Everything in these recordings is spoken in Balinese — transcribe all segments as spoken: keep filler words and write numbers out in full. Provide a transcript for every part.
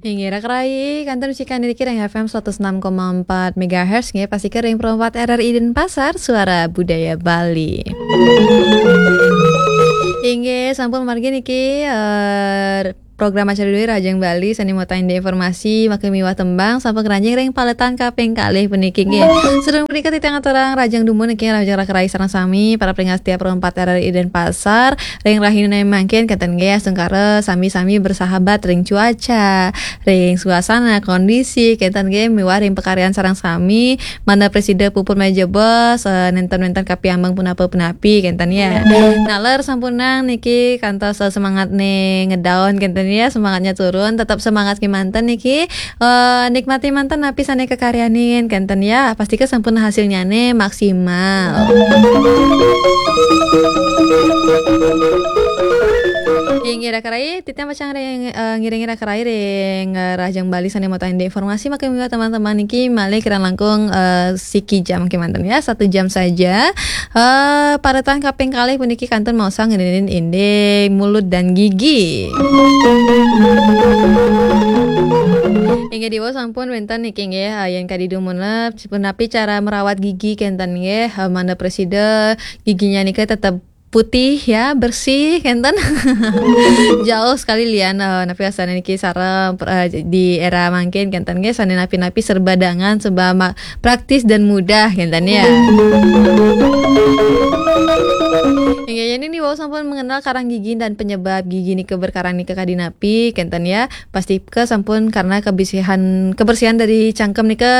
Inggih, raka rayi, kantun musik niki ring F M seratus enam koma empat megahertz, nggih, pastika ring perempat R R I Denpasar, Suara Budaya Bali. Inggih, sampun margi niki, eh, program acara Dwi Rahajeng Bali, sane mautang indik informasi, maka miwah tembang, sampun ngranjing ring paletan kaping kalih puniki, nggih. Sadurung punika titiang aturang rahajeng dumun niki, rahajeng raka rayi sareng sami, para pringat setia perempat R R I Denpasar, ring rahina mangkin kenten nggih, astungkara sami-sami bersahabat ring cuaca, ring suasana, kondisi, kenten nggih, miwah ring pakaryan sareng sami, mangda prasida puput malih jebos, eh, nenten-nenten kapiambeng punapa-punapi, kenten ya. Naler sampunang niki kantos, eh, semangatne ngedown, kenten ya, semangatnya turun, tetap semangat kemanten niki, eh, nikmati manten napi sane kakaryanin, kenten ya, pastika sampun hasilnyane maksimal. Inggih, raka rayi, titiang pacang ring, eh, ngiringi raka rayi ring, eh, rahajeng Bali sane mautang indik informasi, maka miwah teman-teman niki malih kirang langkung, eh, siki jam kemanten ya, satu jam saja. Eh, paletan kaping kalih puniki kantun maosang ngenenin indik mulut dan gigi. Inggih, diwau sampun wenten niki nggih, eh, yen kadi dumun lah, punapi cara merawat gigi kenten nggih, eh, mangda prasida giginya nika tetap putih ya, bersih kenten. Jauh sekali lian, eh, napi asane niki sarem, eh, di era mangkin kenten nggih, sane napi-napi serba dangan, serba ma-, praktis dan mudah kenten ya. Inggih, yen diwau sampun mengenal karang gigi dan penyebab gigi nika berkarang nika kadi napi kenten ya. Pastika sampun karena kebersihan, kebersihan dari cangkem nika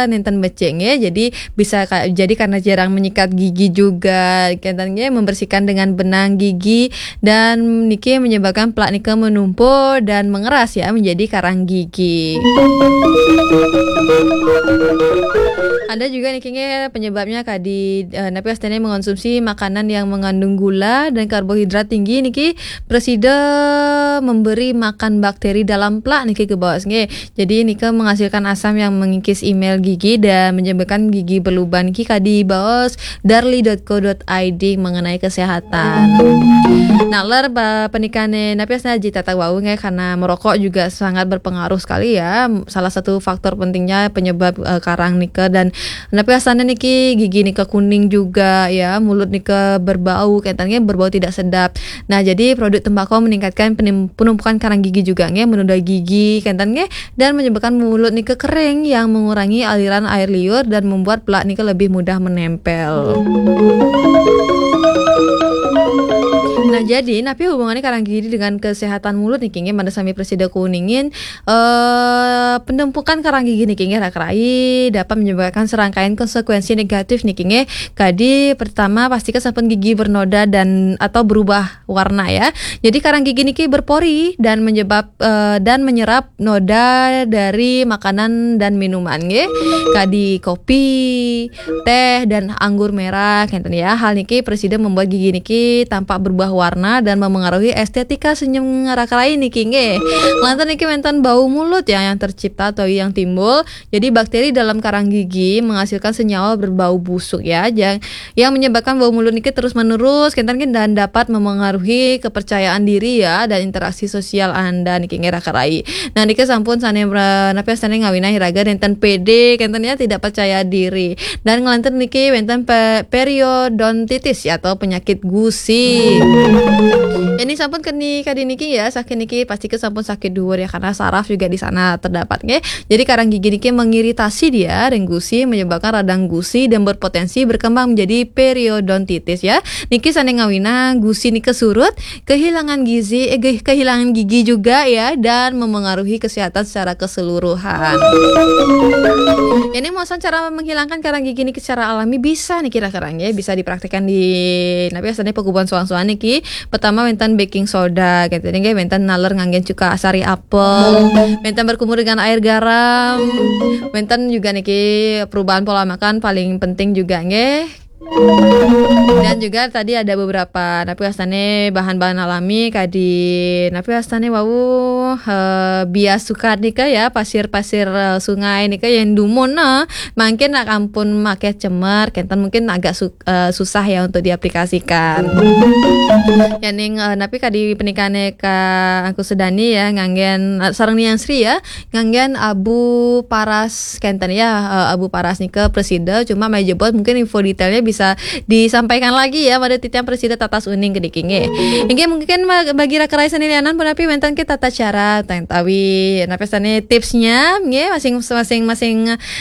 nenten becik nggih. Jadi bisa ka-, jadi karena jarang menyikat gigi juga, kenten nggih, membersihkan dengan benang gigi dan niki menyebabkan plak nika menumpul dan mengeras ya, menjadi karang gigi. Ada juga niki nggih penyebabnya kadi, eh, napi astane mengonsumsi makanan yang mengandung gula dan karbohidrat tinggi niki prasida memberi makan bakteri dalam plak niki kebaos nggih. Jadi nika menghasilkan asam yang mengikis emel gigi dan menyebabkan gigi berlubang niki kadi baos darli dot co dot I D mengenai kesehatan. Naler ba-, panikane napi asane Aji Tatang wau nggih, karena merokok juga sangat berpengaruh sekali ya. Salah satu faktor pentingnya penyebab, eh, karang nika dan napi asane niki gigi nika kuning juga ya, mulut nika berbau, kenten nggih, berbau tidak sedap. Nah, jadi produk tembakau meningkatkan penim-, penumpukan karang gigi juga nggih, menunda gigi kenten nggih, dan menyebabkan mulut nika kering yang mengurangi aliran air liur dan membuat plak nika lebih mudah menempel. Nah, jadi napi hubungannya karang gigi dengan kesehatan mulut niki nggih, mangda sami prasida kuningin, eh, penumpukan karang gigi niki nggih, raka rayi, dapat menyebabkan serangkaian konsekuensi negatif niki nggih. Kadi pertama, pastika sampun gigi bernoda dan atau berubah warna ya. Jadi karang gigi niki berpori dan menyebab, eh, dan menyerap noda dari makanan dan minuman nggih. Kadi kopi, teh dan anggur merah kenten ya. Hal niki prasida membuat gigi niki tampak berubah warna dan memengaruhi estetika senyum raka rayi niki nggih. Lantas niki wenten bau mulut ya yang tercipta atau yang timbul. Jadi bakteri dalam karang gigi menghasilkan senyawa berbau busuk ya, yang, yang menyebabkan bau mulut niki terus menerus kenten nggih dan dapat memengaruhi kepercayaan diri ya dan interaksi sosial anda niki nggih, raka rayi. Nah, niki sampun sane, eh, napi sane ngawinang iraga nenten pede kenten ya, tidak percaya diri. Dan nglantur niki wenten pe-, periodontitis ya, atau penyakit gusi. Ini sampun keni kadi niki ya, sakit niki pastika sampun sakit duur ya, karena saraf juga di sana terdapat nggih. Jadi karang gigi niki mengiritasi dia ring gusi, menyebabkan radang gusi dan berpotensi berkembang menjadi periodontitis ya. Niki sane ngawinang gusi nika surut, kehilangan gizi, eh, ge-, kehilangan gigi juga ya, dan memengaruhi kesehatan secara keseluruhan. Ini maosang cara menghilangkan karang gigi niki secara alami bisa niki, raka rayi, bisa dipraktekkan di, napi asane, pagubuan soang-soang niki. Pertama wenten baking soda kenten nggih, wenten naler nganggen cuka sari apel, wenten berkumur dengan air garam, wenten juga niki perubahan pola makan paling penting juga nggih. Dan juga tadi ada beberapa napi wastane bahan-bahan alami kadi napi wastane wau, eh, bias sukat nika ya, pasir-pasir, eh, sungai nika yang dumun, nah, mungkin nak ampun make cemer, kenten mungkin agak su- eh, susah ya untuk diaplikasikan. Ya ning, eh, napi kadi penikane ka aku sedani ya nganggen, eh, sareng Niang Sri ya, nganggen abu paras kenten ya, eh, abu paras nika presida, cuma mai jebos mungkin info detailnya bisa disampaikan lagi ya pada titiang presida tatas uning kediki nggih. Inggih mungkin ma- bagi raka rai sane lianan punapi wenten ke tata cara utawi napi sane tipsnya nggih masing-masing masing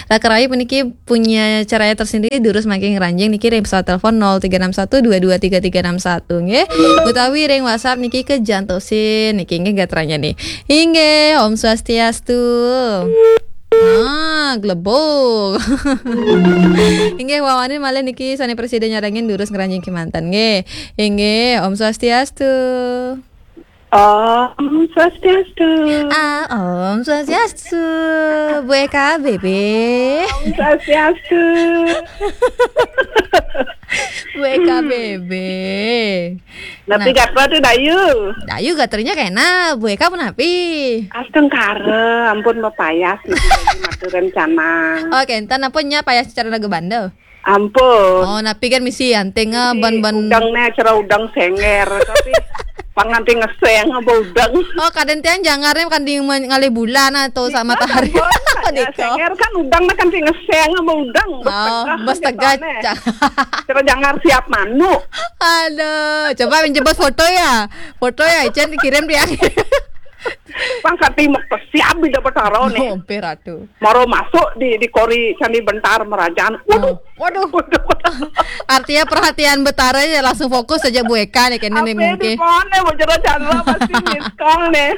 raka rai puniki punya caranya tersendiri durus mangke ngranjing niki ring pesawat telepon nol tiga enam satu dua dua tiga tiga enam satu nggih. Utawi ring WhatsApp niki ke jantosin niki nggih gatranya nih. Inggih, Om Swastiastu. Ah, glebok. Inggih, wawane malih niki sane presida nyarengin durus ngranjing kemanten nggih. Inggih, Om Swastiastu. Om Swastiastu. Ah, Om Swastiastu. Bu Eka B B. Om Swastiastu. Bu Eka B B. Tapi nah, gatra tu dayu. Dayu gatranya kena, Bu Eka pun api. Astungkara, ampun mapayas niki dadi matur rencana. Oh, kenten ampun nya payas cara lagu bandel. Ampun. Oh, napi kan misi anting ah, ban-ban. Udang ne cara udang senger, tapi panganti ngeseng apa udang. Oh, kadang tiang jangarnya kan di men- ngalih bulan atau sama matahari. Ampun, Diko. Senger kan udang ne kan ti ngeseng apa udang. Oh, bes tegak. Cara jangar siap manuk. Aduh, coba menjemput foto ya. Foto ya, Icen kirim dia. Pang kati mek siap di dapat taro nih. Oh, Ratu. Maro masuk di di kori Candi Bentar Merajaan. Waduh. Oh, waduh. Artinya perhatian Betara ya langsung fokus saja Bu Eka nih kene nih mungkin. Apa di mana mau jero channel pasti miss call nih.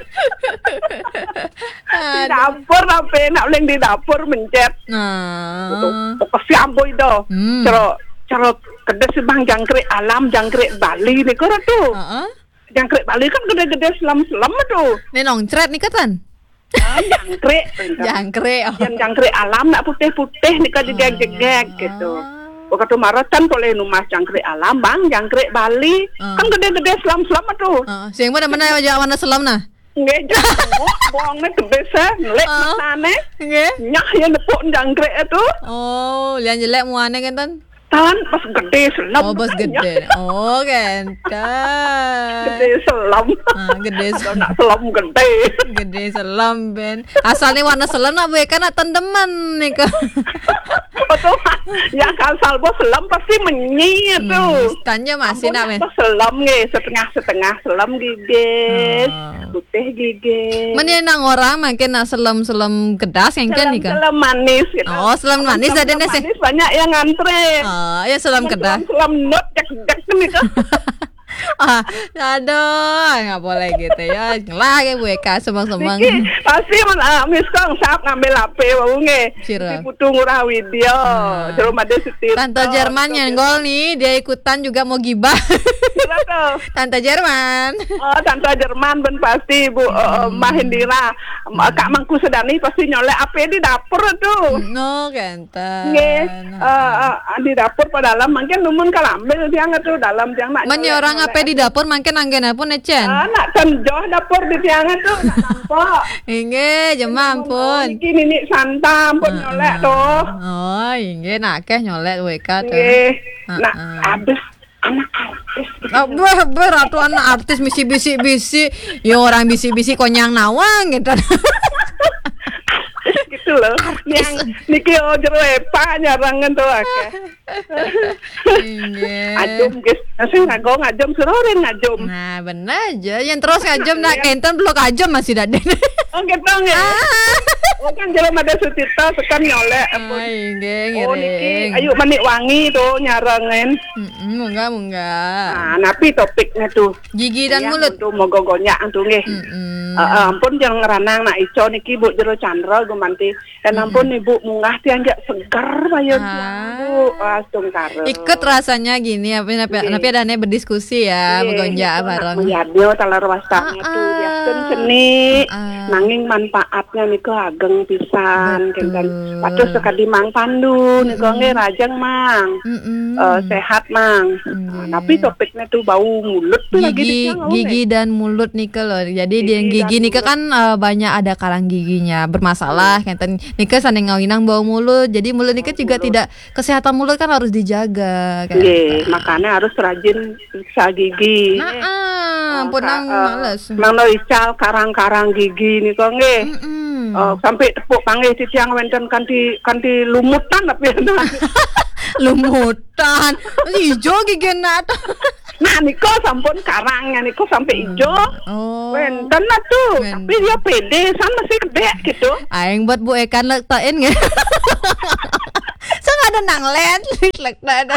Di dapur apa nak uling di dapur mencet. Nah. Gitu. Pokoknya ambo itu. Hmm. Cero cero kedes bang jangkrik alam jangkrik Bali nih kau tuh. Heeh. Jangkrik Bali kan gede-gede selam-selam tuh. Nih nongcret nih ketan. Ah, jangkrik. Jangkrik. Oh. Yang jangkrik alam nak putih-putih nih kan jegeg-jegeg gitu. Waktu marotan boleh numas jangkrik alam bang, jangkrik Bali kan gede-gede selam-selam tuh. Heeh. Sing mana mana aja warna selam nah. Nggih, jangkrik bohongnya gede sih, ngelik matane. Nggih. Nyah ya nepuk jangkrik itu. Oh, lian jelek muane kenten. Tan pas gede selam. Oh, pas gede. Oh, kenten. Gede selam. Ah, gede selam. Nak selam gede. Gede selam ben. Asalnya warna selam nak bukan nak tendeman nih kok. Betul. Ya asal bos selam pasti menyi itu. Hmm, tanya masih nak men. Selam nggih setengah-setengah selam gigis. Oh. Putih gigis. Men ya nang orang makin nak selam-selam kedas yang kan nih kan. Selam manis gitu. Oh, selam manis ada nih sih. Manis banyak yang ngantri. Oh, ya selam kedas. Selam not cek cek nih kan. Ah, aduh, nggak boleh gitu ya. Lah ya Bu Eka semang-semang. Niki pasti men uh, miskong sap ngambil H P wau nggih. Sira. Di Putu Ngurah Widya. Nah. Jero Made Sutirta. Tante Jerman nyenggol nih, dia ikutan juga mau gibah. Sira tuh. Tante Jerman. Oh, Tante Jerman ben pasti Bu uh, Mah Indira. Kak Mangku Sedani pasti nyolek ape di dapur tuh. No, kenten. Nggih. Eh, eh, di dapur pada dalam mungkin numun kalambil tiang tuh dalam tiang nak. Men nyolek, orang nyolek ape di dapur mungkin anggen pun ecen. Ah, nak tenjoh dapur di tiang tuh nak nampak. Inggih, jema ampun. Niki nini santam pun nyolek tuh. Oh, inggih nak keh nyolek W K tuh. Nggih. Nak habis anak artis. Ah, beh, beh, ratu anak artis misi bisi-bisi. Ya orang bisi-bisi konyang nawang gitu. Gitu loh. Yang niki oh jero epa nyarangan tuh akeh. Inggih. Ajum guys. Nasi ngagong ajum seroren ajum. Nah, bener aja. Yang terus ngajum nak kenten belum ajum masih daden. Oh gitu nggih. Oh kan jero Made Sutirta sekan nyolek. Ah, inggih, oh niki ngiring. Ayu Manik Wangi tuh nyarengin. Mm-mm, munggah munggah. Nah, napi topiknya tuh? Gigi dan mulut. Tuh mogo gonyak tuh nggih. Mm-mm. Heeh, ampun jangan ngeranang nak ico niki Bu jero Chandra gumanti. Dan ampun Ibu munggah tiang jak seger bayun tiang Bu. Wah, astungkara. Ikut rasanya gini apa apa apa ada nih berdiskusi ya, begonjak bareng. Yadnya talar wastane tuh biasa seni. Nang Ning manfaatnya nika ageng pisan, kinten. Betul. Patus sekadi Mang Pandu nika, mm-mm, nggih, rajeng, Mang. Mm-mm. Eh, sehat, Mang. Nggih. Nah, tapi topiknya tuh bau mulut tuh lagi, gigi, dicang, gigi nggih, dan mulut nika loh. Jadi di gigi, gigi dan nika mulut kan, eh, banyak ada karang giginya bermasalah, hmm, kinten. Nika sanding ngawinang bau mulut. Jadi mulut nika juga, mulut, tidak, kesehatan mulut kan harus dijaga, kan? Nggih, makanya harus rajin periksa gigi. Nah, ah, eh, punang ka-, eh, males. Mang Ical, karang-karang gigi nika nggih. Mm-mm. Eh, sampai tepuk panggih titiang wenten kanti, kanti lumutan tapi. Lumutan. Ijo gigi nak. Nah, nika sampun karangnya nika sampai, hmm, ijo. Oh. Wenten lah tuh, wenten. Tapi dia pede, san masih kedek gitu. Aing buat Bu Ekan lektain nggih. Saya nggak ada nang len, lek ada.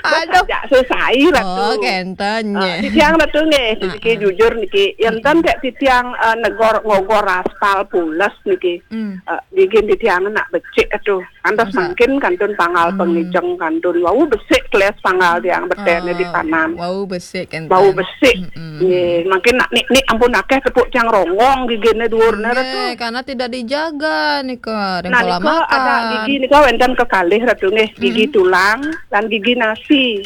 Aduh. Aja susah, Ratu. Oh, kenten, eh, ya. Titiang Ratu nggih, ah, niki, ah, jujur niki. Yang, mm-mm, ten kayak titiang, eh, negor ngogor aspal pules niki. Hmm. Eh, gigi titiang nak becik tuh. Antos masa? Mangkin kantun panggal, hmm, pengijeng kantun. Wau besik keles panggal tiang betene, oh, di panan. Wau besik kenten. Wau besik. Mm-mm. Nggih, mangkin nak nik-nik ampun akeh tepuk tiang rongong gigine dhuwurne, nggih, Ratu. Karena tidak dijaga nika, ring pola makan. Nah, nika ada gigi nika wenten kekalih, Ratu, nggih. Gigi, mm-mm, tulang dan gigi nasi.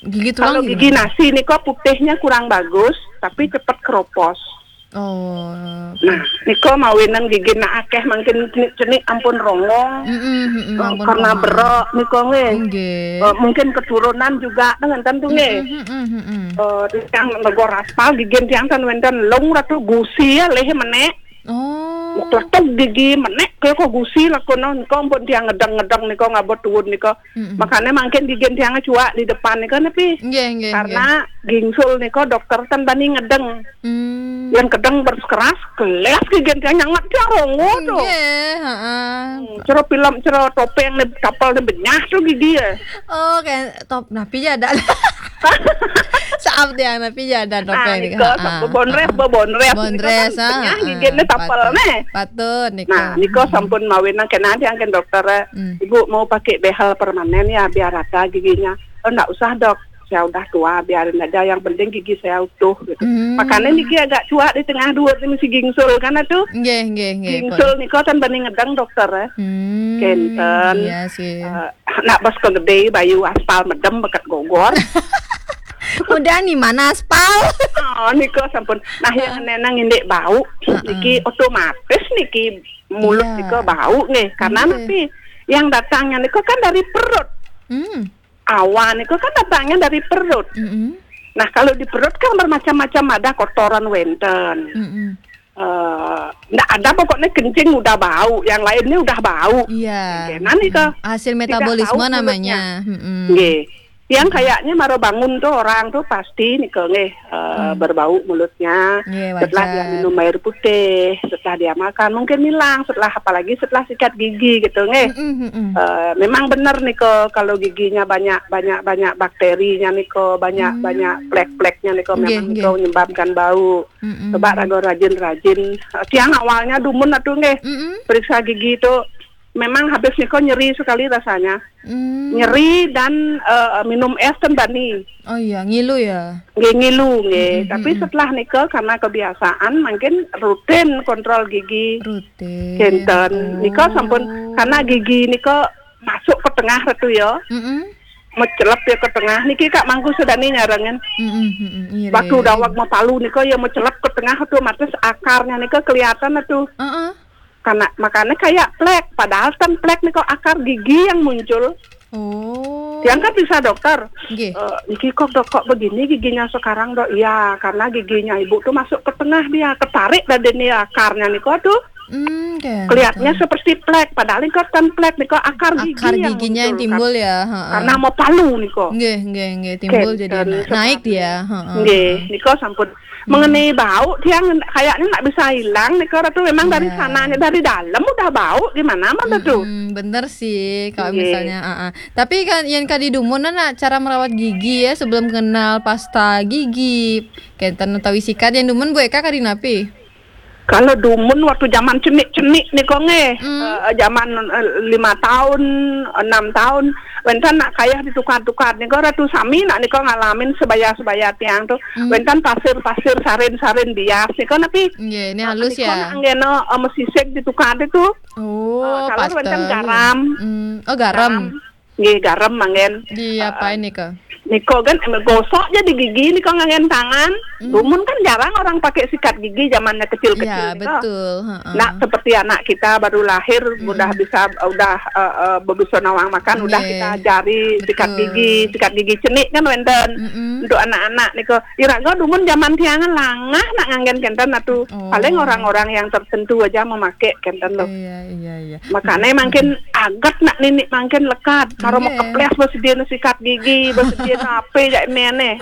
Gigi tulang gimana? Kalau gigi nasi nika putihnya kurang bagus, tapi cepet keropos. Oh. Nah, nika mawinan gigi nak akeh mangkin cenik-cenik ampun rongong. Mm-mm, mm-mm, eh, ampun karena rongong. Berok nika nggih. Nggih. Eh, mungkin keturunan juga, kan, ngenten tuh nggih. Mm-mm, mm-mm, mm-mm. Eh, tiang negor aspal gigi tiang kan wenten lung, Ratu, gusi ya leh menek. Oh. Kletuk gigi menek kaya kok gusi lakono nika ampun tiang ngedeng-ngedeng nika ngabot tuwun nika. Mm-mm. Makanya mangkin gigi tiang cuak di depan nika nepi. Nggih, nggih, nggih. Karena gingsul nika dokter ten bani ngedeng. Hmm. Yang kedeng berkeras, kelas gigi tiang nyanget tiang rongo tuh. Nggih, heeh. Hmm, cero film, cero topeng nih, kapal nih benyah tuh gigi ya. Oh, kayak top napi ya ada. Saap tiang napi ya ada. Nah, topeng nika, heeh, sampun bonres, heeh, bonres. Bonres, nika kan, ah, benyah, ah, gigi nih tapel patut, nih. Patut, nika. Nah, nika sampun mawinan kena tiang kan dokter, eh, hmm, Ibu mau pakai behel permanen ya, biar rata giginya. Oh, nggak usah, Dok. Saya udah tua, biarin aja. Yang penting gigi saya utuh gitu. Hmm. Makanya niki agak cuak di tengah dua ini si gingsul kan tuh. Nggih, nggih, nggih. Gingsul nika ten bani ngedeng dokter, eh. Hmm, kenten. Iya sih. Eh, nak bos kegede bayu aspal medem beket gogor. Udah nih mana aspal? Oh, nika sampun. Nah, yang, ah, nenang indik bau, heeh, niki otomatis niki mulut, iya, nika bau nggih. Karena, nggih, nanti yang datangnya nika kan dari perut. Hmm. Awan itu kan datangnya dari perut. Mm-mm. Nah, kalau di perut kan bermacam-macam, ada kotoran wenten. Mm-mm. Eh, ndak ada pokoknya kencing udah bau, yang lainnya udah bau. Iya. Kena nih ke. Mm. Hasil metabolisme namanya. Tidak tahu mulutnya. Mm-mm. Nggih. Yang kayaknya maro bangun tuh orang tuh pasti nih ke nggih, eh, hmm, berbau mulutnya. Nggih, setelah dia wajar. Minum air putih, setelah dia makan, mungkin hilang setelah, apalagi setelah sikat gigi gitu nggih. Mm-mm, mm-mm. Eh, memang bener nih ke kalau giginya banyak banyak banyak bakterinya nih ke banyak, hmm, banyak plek-pleknya nih ke, nggih, memang nih ke, nggih, menyebabkan bau. Mm-mm. Coba ragu rajin-rajin. Eh, tiang awalnya dumun atuh nggih. Mm-mm. Periksa gigi itu memang habis nih ke nyeri sekali rasanya. Hmm. Nyeri dan, eh, minum es ten bani. Oh iya, ngilu ya? Nggih, ngilu, nggih. Mm-mm, tapi, mm-mm, setelah nika karena kebiasaan mungkin rutin kontrol gigi. Rutin. Kenten. Oh. Nika sampun karena gigi nika masuk ke tengah Ratu ya. Mm-mm. Mecelep ya ke tengah. Niki Kak Mangku sedani nyarengin. Mm-mm, mm-mm, iya, waktu, iya, dawak iya. Mau palu nika ya mecelep ke tengah otomatis akarnya nika kelihatan tuh. Heeh. Karena makanya kayak plek, padahal kan plek nih kok akar gigi yang muncul. Oh. Yang kan bisa dokter. Nggih. Eh, niki kok dok kok begini giginya sekarang dok? Iya, karena giginya ibu tuh masuk ke tengah dia, ketarik dari ini akarnya nih kok tuh. Hmm, oke, kelihatannya oke. Seperti plek, padahal ini kan plek nih kok akar gigi. Akar yang giginya yang muncul, timbul kan. Ya, heeh. Karena mau palu nih kok. Nggih, nggih, nggih, timbul jadi naik dia, heeh. Nggih, nih kok sampun. Hmm. Mengenai bau, tiang kayaknya nggak bisa hilang nih, karena tuh memang dari sananya, dari dalam udah bau, gimana mah tuh? Mm-mm, bener sih, kalau misalnya, ah, ah. Tapi kan yang kadi dumun, nah, cara merawat gigi ya, sebelum kenal pasta gigi, kenten utawi sikat yang dumun Bu Eka kadi napi? Kalau dumun waktu zaman cenik-cenik nika nggih, Hmm. eh, zaman, eh, lima tahun, enam tahun, wenten nak kayah ditukar-tukar nika, Ratu, sami nak nika ngalamin sebaya-sebaya tiang tu. Hmm. Wenten pasir-pasir, sarin-sarin bias nika, napi? Nggih, ini Ah, halus nika ya. Nak anggena, eh, mesisik ditukar tu. Oh, Eh, kalau wenten pastel. Garam. Hmm. Oh, garam. Garam. Nggih, garam manggen. Diapain Eh, nika? Nika kan, em, gosok je di gigi nika nganggen tangan. Hmm. Dumun kan jarang orang pakai sikat gigi zamannya kecil-kecil Ya, nika. Betul. Heeh. Nak seperti anak kita baru lahir, Mm-mm. Udah bisa, udah, eh, eh, bebusa nawang makan, udah Nggih. Kita ajari sikat Betul. Gigi, sikat gigi cenik kan wenten. Mm-mm. Untuk anak-anak nika, iraga dumun zaman tiangan langah nak nganggen kenten atu. Oh. Paling orang-orang yang tertentu aja memakai kenten loh. Iya, iya, iya. Makanya makin agat nak nini makin lekat. Karo Nggih. Mau keples bersedia sikat gigi, bersedia apa jak mene.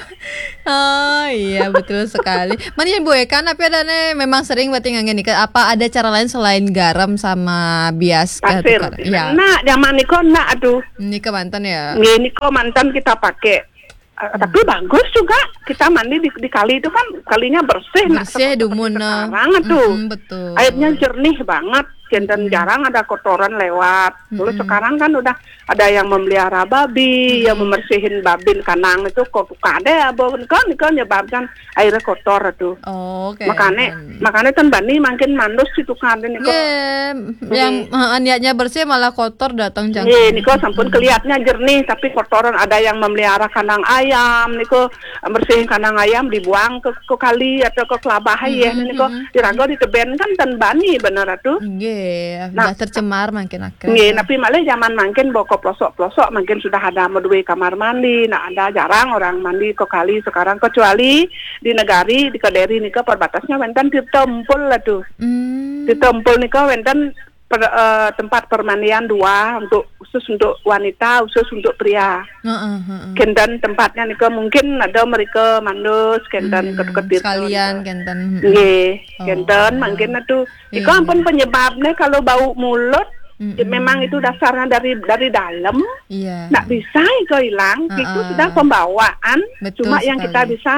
Oh iya, betul sekali. Mana yang Bu Eka, tapi ada nih memang sering buat nganggen nika. Apa ada cara lain selain garam sama bias kah Pasir. Tukar? Ya. Nak zaman niko nak aduh. Nika mantan ya. Nggih, niko mantan kita pakai. Eh, Hmm. Tapi bagus juga kita mandi di, di kali itu kan kalinya bersih, nak Bersih seperti dumun, nah. Sekarang tuh. Mm-mm, betul. Airnya jernih banget, kenten Mm-mm. Jarang ada kotoran lewat. Terus Mm-mm. Sekarang kan udah ada yang memelihara babi, Mm-mm. Yang membersihin babin kandang itu kok ada ya, Bu, kan, kan nyebabkan airnya kotor tuh. Oh, oke. Makanya, Hmm. Makanya kan bani makin mandus situ kan nika. Nggih, yang, Nggih. Heeh, niatnya bersih malah kotor datang jangkung. Nggih, nika sampun Hmm. Kelihatnya jernih tapi kotoran, ada yang memelihara kandang ayam nika, bersihin kandang ayam dibuang ke, ke kali atau ke kelabah ya Hmm, nika. Hmm. Iraga di teben kan ten bani bener atuh. Nggih, nah, udah tercemar makin akeh. Nggih, tapi malah zaman makin boko pelosok-pelosok makin sudah ada medue kamar mandi, nah ada jarang orang mandi ke kali sekarang kecuali di negari, di Kediri nika perbatasnya wenten Tirta Empul lah tuh. Hmm. Tirta Empul nika wenten per, eh, tempat permandian dua untuk khusus untuk wanita, khusus untuk pria. Heeh, heeh. Kenten tempatnya nika mungkin ada mereka mandus, kenten Hmm, ketuk-ketuk sekalian nika. Kenten, hmm. Nggih, oh. Kenten mungkin atuh. Nika iya. Ampun penyebabnya kalau bau mulut, mm-mm. Ya memang itu dasarnya dari dari dalam. Iya. Ndak bisa itu hilang, uh-uh. Itu sudah pembawaan. Betul cuma sekali. Yang kita bisa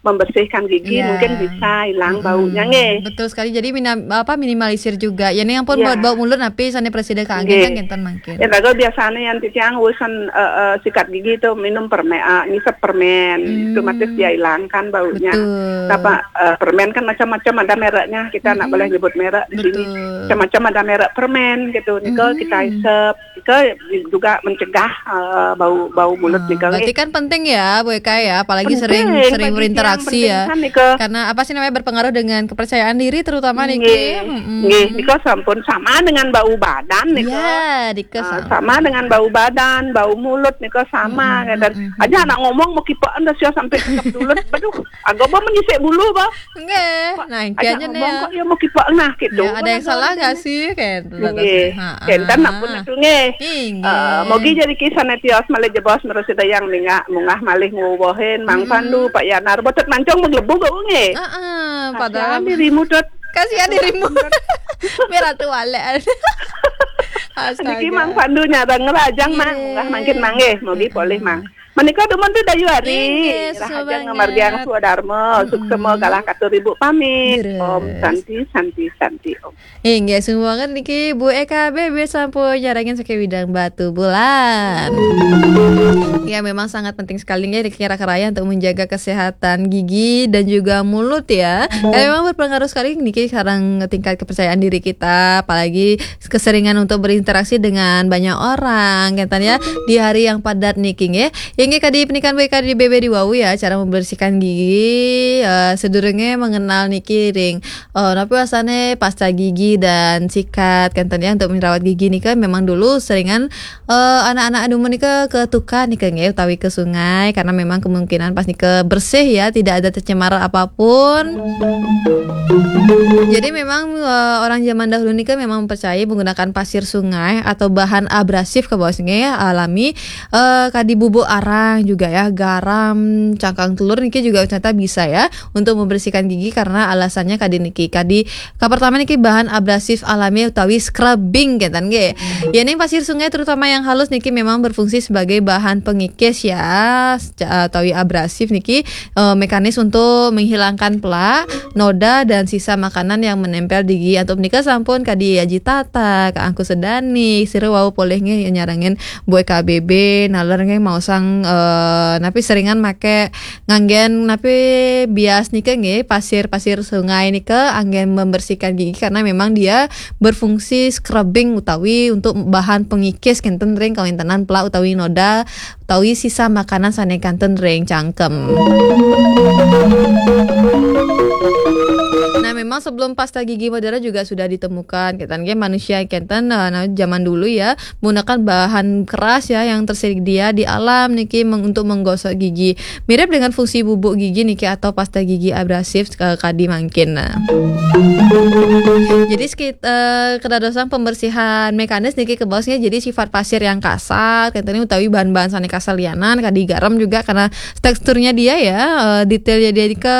membersihkan gigi, ya. Mungkin bisa hilang mm-mm. Baunya nggih. Betul sekali. Jadi mina, apa, minimalisir juga. Ya nih ampun ya. Bau, bau mulut napi sane presiden kangen kan kenten mangkin. Ya bagus biasanya yang titiang urusan uh, uh, sikat gigi itu minum permen, uh, ngisep permen, hmm. Otomatis dia hilangkan baunya. Betul. Apa uh, permen kan macam-macam ada mereknya. Kita mm-mm. Nggak boleh nyebut merek di betul. Sini. Macam-macam ada merek permen gitu. Nika mm-mm. Kita isep. Itu juga mencegah uh, bau bau mulut oh, nih. Berarti kan penting ya Bu Eka ya, apalagi penting, sering sering berinteraksi ya. Kan, karena apa sih namanya berpengaruh dengan kepercayaan diri terutama nih. Nggih, nggih, nika sampun sama dengan bau badan nih. Ya, nika uh, sama. Sama dengan bau badan, bau mulut nih sama. Hmm, dan hmm, aja anak ngomong mau kipekan dah sia sampai kekep dulut. Aduh, agak apa menyisik bulu bah. Nggih. Nah, aja ngomong nih. Kok dia mau kipekan nah gitu. Ya, ada yang salah nggak sih kayak gitu. Nggih. Kenten ampun atuh nggih. Inggih. Uh, mogi jadi kisah netios malih jebos merusi dayang ningak mungah malih nguwuhin Mang Pandu, Pak Yanar, botet mancung menglebu bau nggih. Heeh, padahal dirimu tut. Kasihan dirimu. Merah tuh walek. Astaga. Niki Mang Pandu nyarang ngerajang Mang, mungah mangkin manggih, mogi polih Mang. Menika dumun tu Dayu Ari. Inggih, rahaja ngamargiang swadarma, suksema galah katur ibu pamit. Om Santi, Santi, Santi Om. Inggih, sumbangan niki Bu Eka B B sampun nyarengin saking Widang Batubulan. Ya, memang sangat penting sekali ya niki raya untuk menjaga kesehatan gigi dan juga mulut ya. Ya memang berpengaruh sekali niki sareng tingkat kepercayaan diri kita, apalagi keseringan untuk berinteraksi dengan banyak orang, kenten ya, di hari yang padat niki nggih. Inggih kadi penikan B K di B B di wau ya, cara membersihkan gigi, eh, sedurunge mengenal niki ring, eh, napi wasane pasta gigi dan sikat, kenten ya, untuk merawat gigi nika memang dulu seringan eh, anak-anak dumun nika ke tukar nika nggih utawi ke sungai karena memang kemungkinan pas nika bersih ya, tidak ada tercemar apapun. Jadi memang eh, orang zaman dahulu nika memang percaya menggunakan pasir sungai atau bahan abrasif ke bawah sungai alami eh, kadi bubuk arang Yang juga ya, garam, cangkang telur niki juga ternyata bisa ya untuk membersihkan gigi, karena alasannya kadi niki, kadi ka pertama niki bahan abrasif alami utawi scrubbing kenten nggih. Ya, ning pasir sungai terutama yang halus niki memang berfungsi sebagai bahan pengikis ya, seca- utawi abrasif niki, eh, mekanis untuk menghilangkan plak, noda dan sisa makanan yang menempel di gigi. Antuk menika sampun kadi Aji Tata, Kak Angku Sedani, sira wau polih nggih nyarengin Boy K B B, naler nggih maosang, eh, napi seringan make nganggen napi bias nika nggih, pasir-pasir sungai nika anggen membersihkan gigi karena memang dia berfungsi scrubbing utawi untuk bahan pengikis kenten ring kawintenan plak utawi noda utawi sisa makanan sane kanten ring cangkem. Nah, memang sebelum pasta gigi modern juga sudah ditemukan. Kenten nggih manusia kenten, eh, nah, zaman dulu ya, menggunakan bahan keras ya yang tersedia di alam niki meng- untuk menggosok gigi. Mirip dengan fungsi bubuk gigi niki atau pasta gigi abrasif, eh, kadi mangkin. Nah. Jadi sekit, eh, kedadosan pembersihan mekanis niki kebaos nggih, jadi sifat pasir yang kasar, kenten utawi bahan-bahan sane kasar lianan, kadi garam juga karena teksturnya dia ya, eh, detailnya dia ke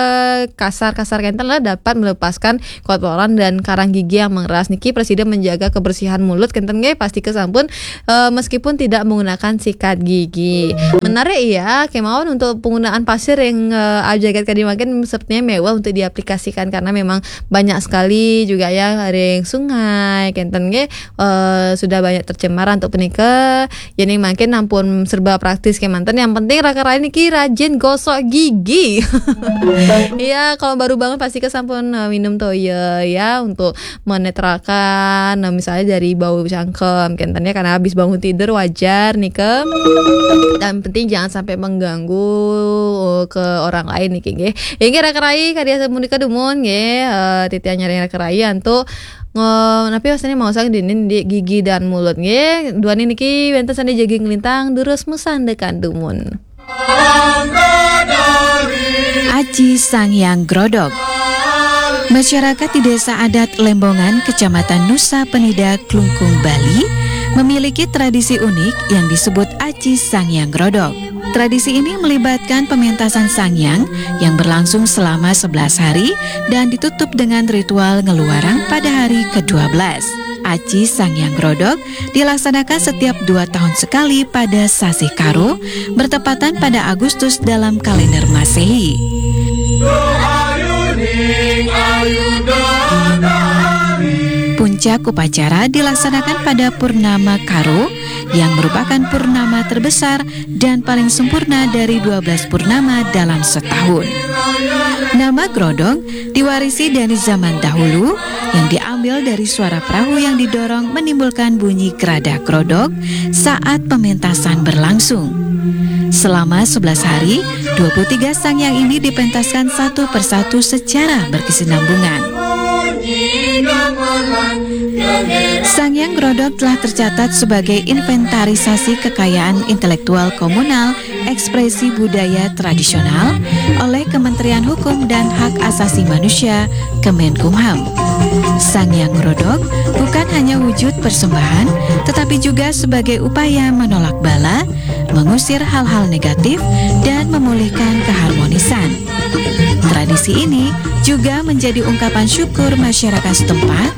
kasar-kasar kenten lah dapat melepaskan kotoran dan karang gigi yang mengeras niki presiden menjaga kebersihan mulut kenten nggih pasti kesampun, eh, meskipun tidak menggunakan sikat gigi. Menarik ya, kemauan untuk penggunaan pasir yang, eh, ajagat kadi mangkin sepertinya mewah untuk diaplikasikan karena memang banyak sekali juga ya ring sungai kenten nggih, eh, sudah banyak tercemar untuk punika. Ya ning mangkin ampun serba praktis kemanten. Yang penting raka rai niki rajin gosok gigi. Iya, kalau baru bangun pasti kesampun, eh, minum toya ya untuk menetralkan, nah, misalnya dari bau cangkem kenten ya, karena habis bangun tidur wajar nika. Dan penting jangan sampai mengganggu, eh, ke orang lain niki nggih. Ya nggih raka rai kadi asa punika dumun nggih, eh, titiang nyarengin raka rai antuk nge- napi wastane maosang dinin di gigi dan mulut nggih. Duaning niki wenten sane jagi nglintang durus masandekan dumun. Aji Sangyang Grodog. Masyarakat di Desa Adat Lembongan, Kecamatan Nusa Penida, Klungkung, Bali, memiliki tradisi unik yang disebut Aji Sangyang Grodog. Tradisi ini melibatkan pementasan Sangyang yang berlangsung selama sebelas hari dan ditutup dengan ritual ngeluarang pada hari kedua belas. Aji Sangyang Grodog dilaksanakan setiap dua tahun sekali pada sasih Karo, bertepatan pada Agustus dalam kalender Masehi. Puncak upacara dilaksanakan pada Purnama Karo, yang merupakan purnama terbesar dan paling sempurna dari dua belas purnama dalam setahun. Nama Grodog diwarisi dari zaman dahulu, yang diambil dari suara perahu yang didorong menimbulkan bunyi geradah grodog saat pementasan berlangsung. Selama sebelas hari, dua puluh tiga sangyang ini dipentaskan satu persatu secara berkesinambungan. Sangyang Grodog telah tercatat sebagai inventarisasi kekayaan intelektual komunal ekspresi budaya tradisional oleh Kementerian Hukum dan Hak Asasi Manusia, Kemenkumham. Sangyang Grodog bukan hanya wujud persembahan, tetapi juga sebagai upaya menolak bala, mengusir hal-hal negatif, dan memulihkan keharmonisan. Tradisi ini juga menjadi ungkapan syukur masyarakat setempat